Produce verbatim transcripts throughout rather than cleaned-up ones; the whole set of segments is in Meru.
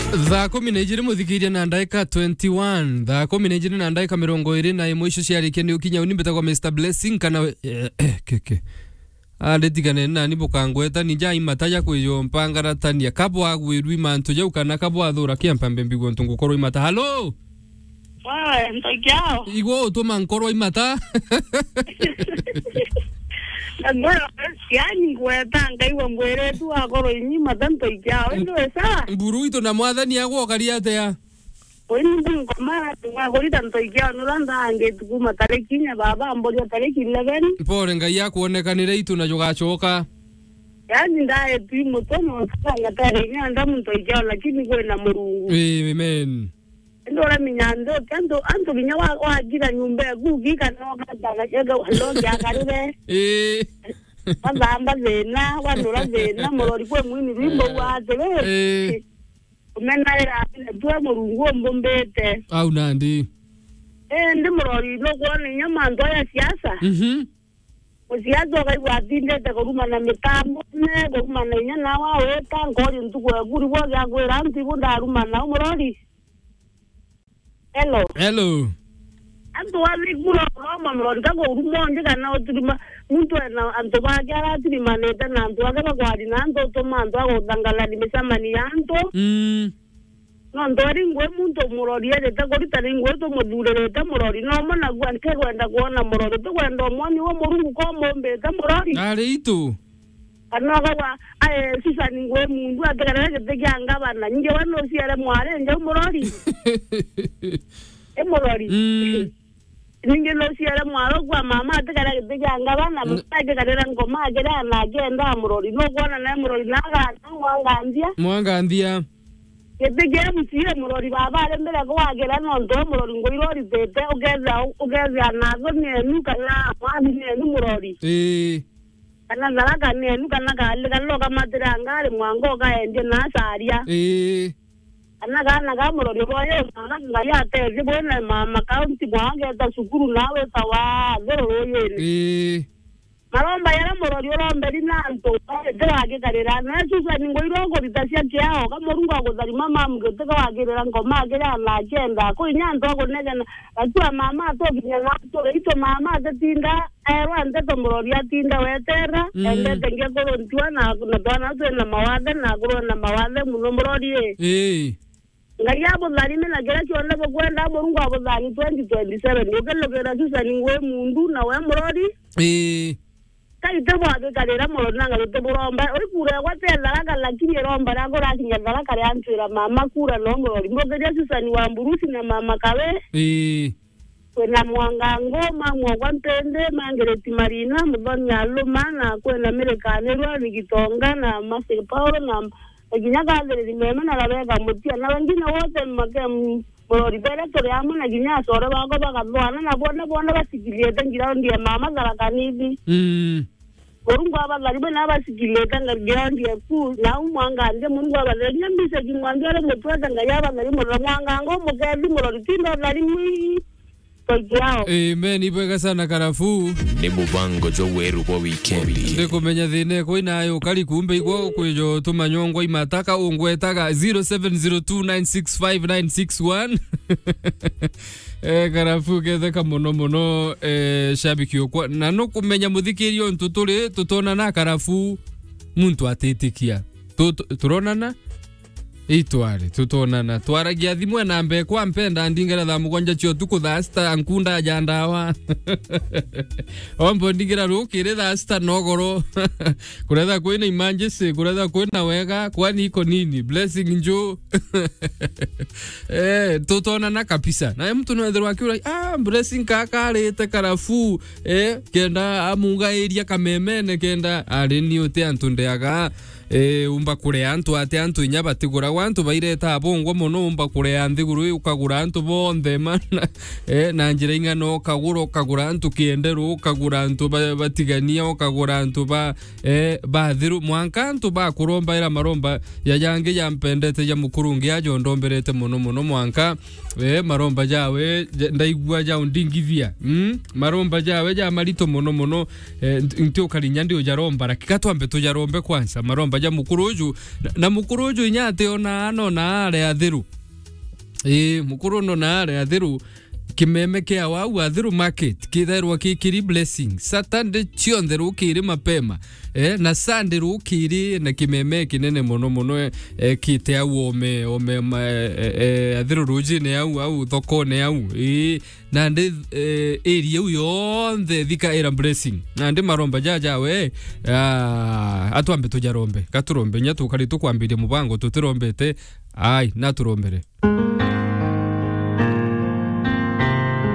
Thaa kumi na ijiri muthikiria na ndaika twenty-one. Thaa kumi na ijiri na ndaika mirongo iri na imwe icio ciarikia ni ukinya uni mbitagwa Mister Blessing kana we-, eh, eh, keke. Anditigane nani bukangweta ni jai mata ja kwijo mpangaratania. Kabwa gwirwi mantu jau kana kabwa thura kia mpambe mbigwo ntu ngukorwo imata. Halo? Wewe, ntoikiao. Igwo utuma nkorwa imata. Ngoro, yani ngweta, ngaigua mbwire tu akorwo inyi mata ntoikiao. Indi we sawa? Mburu itu na mwathani agwo kari atia? Oi, ni ngoma, ngoma kurita ntoikiao, nura ndangitu kuma tariki inya baba, mboria tariki eleven. Mpore, Ngai akuonekanire itu na jugacoka. Yani ndae tu mutono, sanga tare inya ndamu ntoikiao, lakini kwina Murungu. Amen. Indi uramenya antu, antu, antu kinya wa-, wagira nyumba eku, gika no gatana, ega, no giakarire. Ii. Wathamba thina, wanura thina, murori kwe mwini rwimbo. Ii. Wa atiri. Ii. Umenaira atiri, twe Murungu umbumbite. Au nandi. Indi murori, nukwona inya mantu aya siasa. Mhm. Musiasa ukaigua atindite kurumana mitambone, kurumana inya nawe awita, nkori ntuku eku, ribo giakwira antu ibu ndarumana, u murori. Hello. Hello. Antu athikura uroma murori ka kuruma unthi kana uturima, muntu ena antu bake aratirimanite na antu ake bakwari na antu utuma antu aguthangalani micemani ya antu. Mm. Nontu ari ngui muntu murori erite kurita ni ngui tumuthuririte murori, nomo naguo ntikwenda kwona murori, tikwenda umwoni wa Murungu ko mumbite murori. Ari itu. Kana ukauga, "Aye, Susan ngui mundu atikarira giti kia ngavana." Ningi we nuciere mwari njau murori? I murori? Mm. Ningi nuciere mwari kwa mama atikarira giti kia ngavana, mm, mama akikarira ngoma akiria na akienda murori. Nukwona nae murori na agana mwanganthia? Mwanganthia. Giti kia M C A murori baba ari mbere kwagira nontu we murori ngui iria uritite, ukethia, ukethia na thoni yenu kana mwathi nenu murori. Ii. Kana tharaka nenu, kana kali, kana ukamatira ngari mwanka ukaendie na acaria. Ii. Kana kana ka murori boyo, mwana Ngai atethie bwina ma, ma county mwageta cukuru na witawa thiru ruyini. Ii. Maromba jaria murori uromberi na antu, tigagikarira. Na Susan ngui iria ukurita cia kiao, ka Murungu agutharima mamu giti kawagirira ngoma akiria na akienda. Kwi inya antu akunegena, gatua mama atukinya na ature, itu mama atitinda, erwa nteto murori atinda wetera, mm, endete ngia kuruntiwa na, na twana twina mawathe na akurwa na mawathe muno murori ii. Ii. Ngai abutharime na kiria kionthe bukwenda, Murungu abuthani twenty twenty-seven. Ukilukira Susan ngui mundu na we murori. Ii. Kai ti bwagikarira murori na ngai ti buromba. Ui kura yakwa ti Tharaka, lakini iromba riakwa irakinya Tharaka riantwira mama kura no murori. Mbukiria Susan wa Mburusi na mama Kawe. Ii. Kwina Mwangango, mamu okwa Mpindi, Margaret Marina, Muthoni Aluma, na kwina Mary Kanirwa, Rigitonga, na Mercy Paul, na, na kinya Catherine Meme, na Rebecca Mutia, na wengine wote make, m-, murori bere turi amwe, na kinya acore bakwa bakathwana, na bone, bone basikiriete ground ya mama Tharaka Nithi. Mm. Murungu abatharime na abasikiriete ground ya ku, na au mwanganthia Murungu abatharime, mbica kimwanthia ari mutwete Ngai abatharime, na Mwangango mukethi murori tinda utharimwi. Thank you. Amen, ibwega sana Karafu. Ni mubango jwa weru bwa wikendi. Ndikumenya thina iko inayo kari kumbe igwo kwijo tumanyongwa imataka ungwetaga zero seven zero two nine six five nine six one. Eh, Karafu ketheka muno muno, eh, shabiki okwa. Na nukumenya muthikiria untu turi, tutonana Karafu muntu atitikia. Tu-, tu-, turonana? Itwari, tutonana. Twaragia thimu na mbekwa mpenda ndingera thaa mugwanja cia utuku thaa sita nkunda ja ndawa. Ombo ndingira rukiri thaa sita nogoro. Kuretha kwina emergency, kuretha kwina wega, kwani iko nini? Blessing nju. Eh, tutonana kabisa. Na mtu no ethirwa akiura, "Ah, Blessing kaka arite Karafu." Eh, kenda amungairia kamemene, kenda ari ni uti antu ndeaga. Eh, umba kurea antu ati antu inya batiguragwa, antu baireta bongwa mono, umba kurea nthiguru ii, ukagura antu bonthe, ma-, eh, na njira ing'ana, ukagura, ukagura antu kienderu, ukagura antu ba-, batigania, ukagura antu ba, eh, bathiru, mwanka antu bakurombaira maromba ya jangi jampendete ja mukurungi ajo ndomberete mono mono, mwanka Eh, maromba jawe, ja-, ndaigua jaundingithia. Mm? Maromba jawe ja marito mono mono. Eh, nti-, nti ukarinya ndi ujaromba, lakini ka twambe tujarombe kwanza. Maromba ja mukuru uju. Na, na mukuru uju inya ati ona anona are athiru. Ii, mukuru nona are athiru. Kimeme kia wau athiru market kithairwa kikiri blessing. Saturday cionthe rukiri mapema. Eh, na Sunday rukiri na kimeme kinene mono mono, eh, eh, kite au ome, ome, ma, eh, eh, eh, athiru rujine au, au thokone au. Ii, nandi, eh, area iu yonthe thika ira blessing. Nandi maromba jaja we, ah, atwambe tujarombe. Gaturombe, nya tukari tukwambiria mubango tutirombete. Ai, naturombere.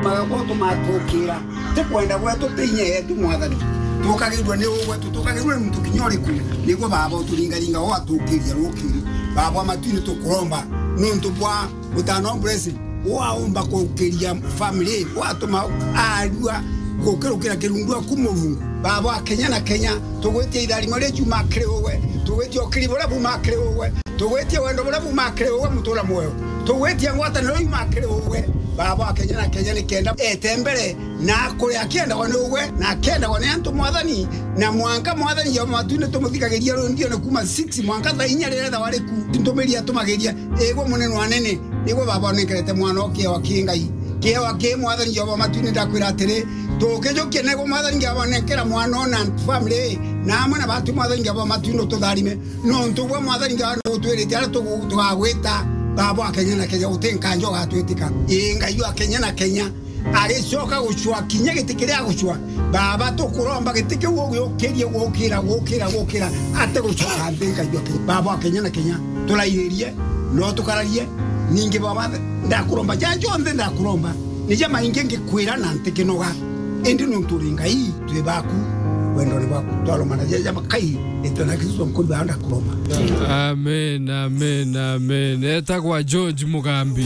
Magabo tumatukira. Ti kwenda gwetu, ti inya yetu, Mwathani. Tukagirwa ni uu gwetu, tukagirwa ni muntu kinya uriku. Niguo Baba uturingaringa, ugatukiria rukiri. Baba wa matuini tukuromba. Nuntu bwa mutano wa blessing. Waumba kukiria family, watuma arua gukirukira kirundu aku Murungu. Baba wa Kenya na Kenya, tugwitia itharimo riria riuma kiri uwe, tugwitia ukiri buria buuma kiri uwe, tugwitia wendo buria buuma kiri uwe, mutura mwoyo, tugwitia ngwataniro iuma kiri uwe. Baba wa Kenya na Kenya, nikenda ete mbere na akuri akiendagwa ni uwe, na akiendagwa ni antu, Mwathani, na mwanka, Mwathani, Jehova matuini tumuthigagiria rwimbione kuma six mwanka thaa inya riria ethagwa riku, ntumiri atumagiria, igwe munene wa anene, nigwe Baba unenkerete mwana o kiewa ki Ngai. Kiewa ki, Mwathani Jehova matuini, ndakwira atiri, tukijukia nego, Mwathani Jehova, nenkera mwana ona family, na amwe na batu, Mwathani Jehova matuini, ututharime. Nontu gwe, Mwathani Jehova, nutwirite aria tugu-, tugagwita, Baba wa Kenya na Kenya, uti nkanja ugatwitika. Ii, Ngai wa Kenya na Kenya, agicoka gucwa kinya giti kiria agucwa. Baba, tukuromba giti kiu ugiukirie gukira, gukira, gukira, ati gucoka nthi, Ngai wa Kenya. Baba wa Kenya na Kenya, turairirie, no tukararie, ningi Baba, ndakuromba, ja jonthe ndakuromba, ni ja maingi ngikwira na ntikinoga. Indi nuntu uri Ngai, twi baku, wendone bwaku, twaromana ja ja makai, itwe na Kristo nkuri baa ndakuromba. Amen, amen, amen. Etagwa George Mugambi.